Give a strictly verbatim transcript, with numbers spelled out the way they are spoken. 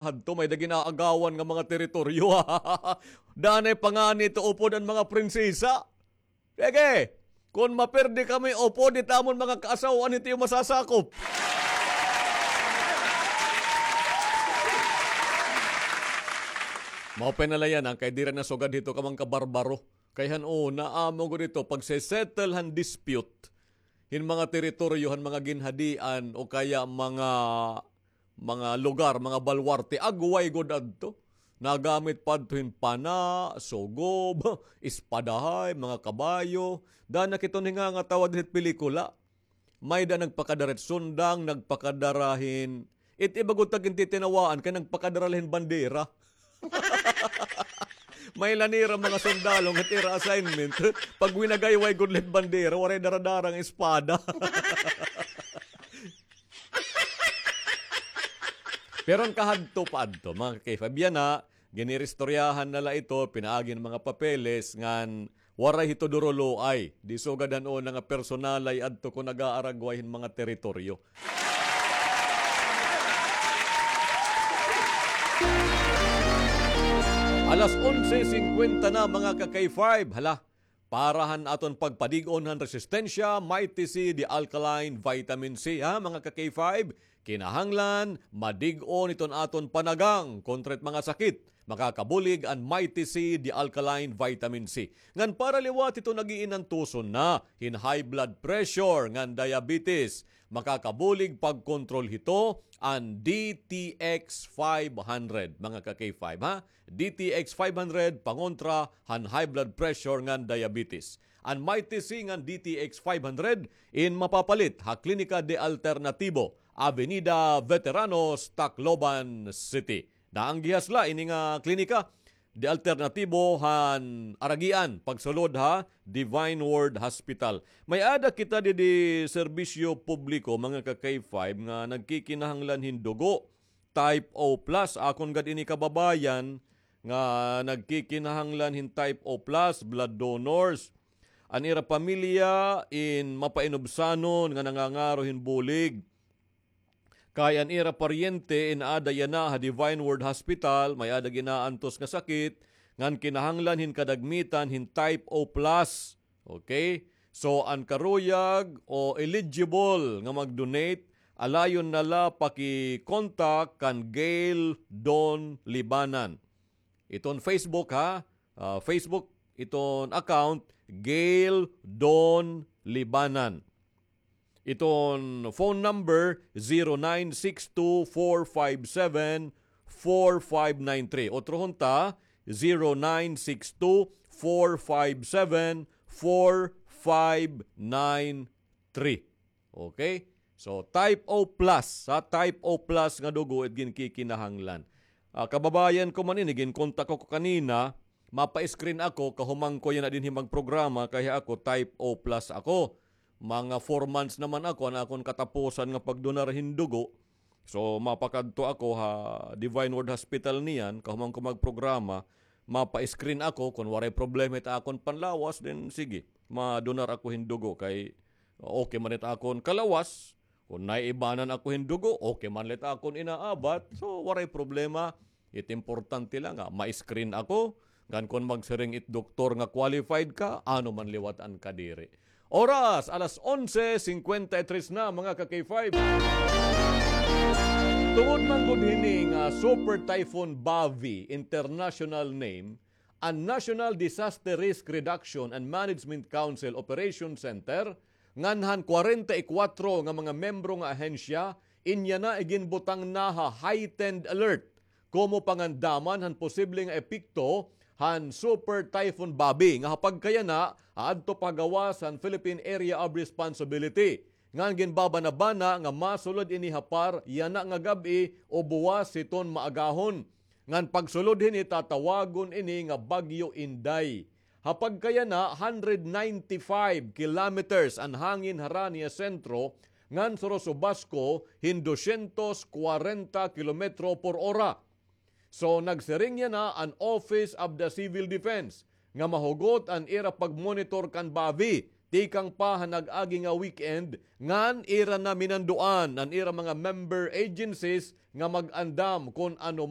Hadto may-ada gin-aagawan nga mga teritoryo. Danay pa ngani ito upod an mga prinsesa. Sige, kon mapirdi kami upod it amon mga kaasaw-an, hito iyo masasakop. Mao pa na la iyan, an kay diri na sugad hito ka mga kabarbaro. Kay han una, amo gud ito, pagse-settle han dispute hin mga teritoryo, han mga ginhadian, o kaya mga, mga lugar, mga baluarte, agway gud adto. Nagamit pa adto hin pana, sugob, espadahay, mga kabayo. Dana kiton hingangatawa dinhi hit pelikula. May-ada nagpakadara hit sundang, nagpakadara hin, it iba gud ta gintitinawaan kay nagpakadara la hin bandera. May-ada nira mga sundalo nga it ira assignment, pag winagayway gud la hit bandera, waray dara-dara nga espada. Pero an kahadto pa adto, mga ka-K five, yana, giniristoryahan na la ito, pinaagi hin mga papeles, ngan waray hito duruloay. Di sugad han una nga personalay adto kon nag-aaragway hin mga teritoryo. Alas onse singkwenta na, mga ka-K five. Hala, para han aton pagpadig-on han resistensya, Mighty C, the alkaline vitamin C, ha, mga ka-K five. Kinahanglan madig-on iton aton panagang kontra it mga sakit. Makakabulig an Mighty C, the alkaline vitamin C. Ngan para liwat hito nag-iinantuson na hin high blood pressure ngan diabetes. Makakabulig pagkontrol hito an D T X five hundred, mga ka-K five, ha? D T X five hundred, pangontra han high blood pressure ngan diabetes. An Mighty C ngan D T X five hundred in mapapalit ha Klinika de Alternatibo, Avenida Veteranos, Tacloban City. Naanggihas la ini nga klinika de Alternatibo han Araguian, pagsulod ha Divine Word Hospital. May-ada kita didi serbisyo publiko, mga ka-K five, nga nagkikinahanglan hin dugo. Type O plus, akon gad ini kababayan nga nagkikinahanglan hin type O plus, blood donors. An ira pamilya in mapainubsanon nga nangangaro hin bulig. Kay an ira paryente in aada yana ha Divine Word Hospital, may-ada gin-aantos nga sakit, ngan kinahanglan hin kadagmitan hin type O plus. Okay? So, an karuyag o eligible nga mag-donate, alayon na la paki-contact kan Gail Don Libanan. Iton Facebook, ha? Ah, Facebook, iton account, Gail Don Libanan. Iton phone number, zero nine six two four five seven four five nine three. Otrohon ta, zero nine six two four five seven four five nine three. Okay? So, type O plus, ha? Type O plus nga dugo it ginkikinahanglan. Ah, kababayan ko man ini, ginkontak ko kanina, mapa-screen ako, kahuman ko yana dinhi magprograma, kay ako type O plus ako. Mga four months naman ako, an akon katapusan nga pagdonar hin dugo. So, mapakadto ako ha Divine Word Hospital niyan, kahuman ko magprograma, mapa-screen ako, kon waray problema it akon panlawas, then sige, madonar ako hin dugo kay okay man it akon kalawas, kon naiibanan ako hin dugo, okay man la it akon inaabat, so waray problema. It importante la nga ma-screen ako, ngan kon magsiring it doktor nga qualified ka, ano man liwat an kadiri. Oras, alas onse singkwenta y tres na, mga ka-K five. Tungod man gud hini nga Super Typhoon Bavi, international name, an National Disaster Risk Reduction and Management Council Operation Center, ngan han kwarenta y kwatro nga mga membro nga ahensya, inya na iginbutang na ha heightened alert komo pangandaman han posible nga epekto han Super Typhoon Babi, nga ha pagkayana, aadto pa ha gawas han Philippine Area of Responsibility. Ngan ginbabanabana nga masulod ini ha par yana nga gab-i o buwas hiton maagahon. Ngan pagsulod hini, tatawagon ini nga Bagyo Inday. Ha pagkayana, hundred ninety-five kilometers an hangin harani ha sentro, ngan surusubasko hin dosyentos kwarenta kilometro por ora. So, nagsiring yana an Office of the Civil Defense nga mahugot an ira pagmonitor kan Bavi, tikang pa han nag-agi nga weekend, ngan ira na minanduan an ira mga member agencies nga mag-andam kon ano